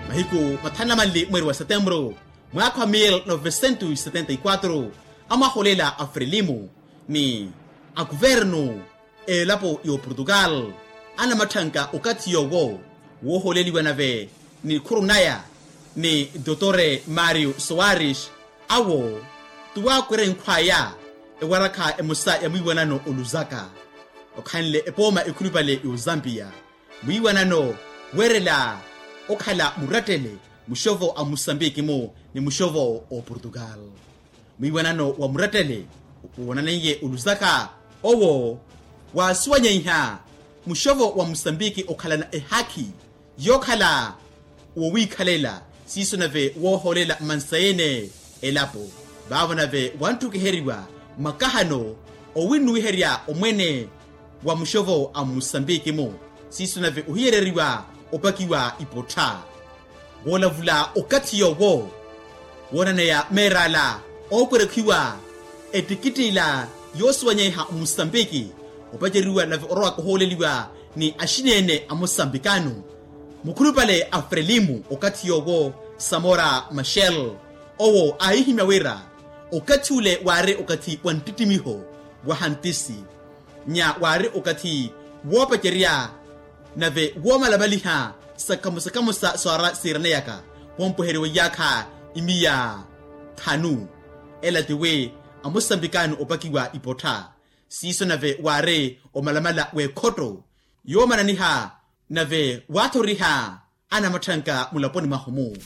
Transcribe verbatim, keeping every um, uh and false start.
Mahiku mathanu na manli mweri wa setemburu, mwaakha wa mil novecentos setenta y quatro, amwaholela a frelimu ni akuvernu elapo y'oportugal anamatthanga okathi yoowo wooholeliwa nave ni khurunaya ni dotore mario soares. Awo tuwakwere nkhwaya ewarakha emosa ya mwiiwanano oluzaka okhanle epooma ekhulupale y'ozampiya mwiiwanano weerela okhala murattele muxovo a musambiki-mu ni muxovo a oportugal. Mwiiwanano wa murattele woonaneiye oluzaka owo waasuwanyeiha muxovo wa musambiki okhalana ehaakhi yookhala wowiikhalela siiso nave wooholela mmansayene elapo. Vaavo nave wantthukiheriwa makahano owinnuwiherya omwene wa muxovo a musambiki-mu siiso nave ohiyereriwa opakiwa ipottha. Woolavula okathi yoowo woonaneya meer'ala ookwerekhiwa ettikitti ila yoosiwanyeiha musambiki opaceriwa nave orowaka ohooleliwa ni axineene a musambikano mukhulupale a frelimu okathi yoowo samora maxel owo aahihimya wira okathi ule waari okathi wa nttittimiho wa hantisi nya waari okathi woopacerya nave woomalamaliha sakhamusakhamusa saara siiraneyaka wompweheriwa iyaakha imiya thanu ela tiwi amusambikano opakiwa ipottha siiso nave waari omalamala w'ekhotto yoomananiha nave waathoriha anamatthanka mulaponi mwahu-mu.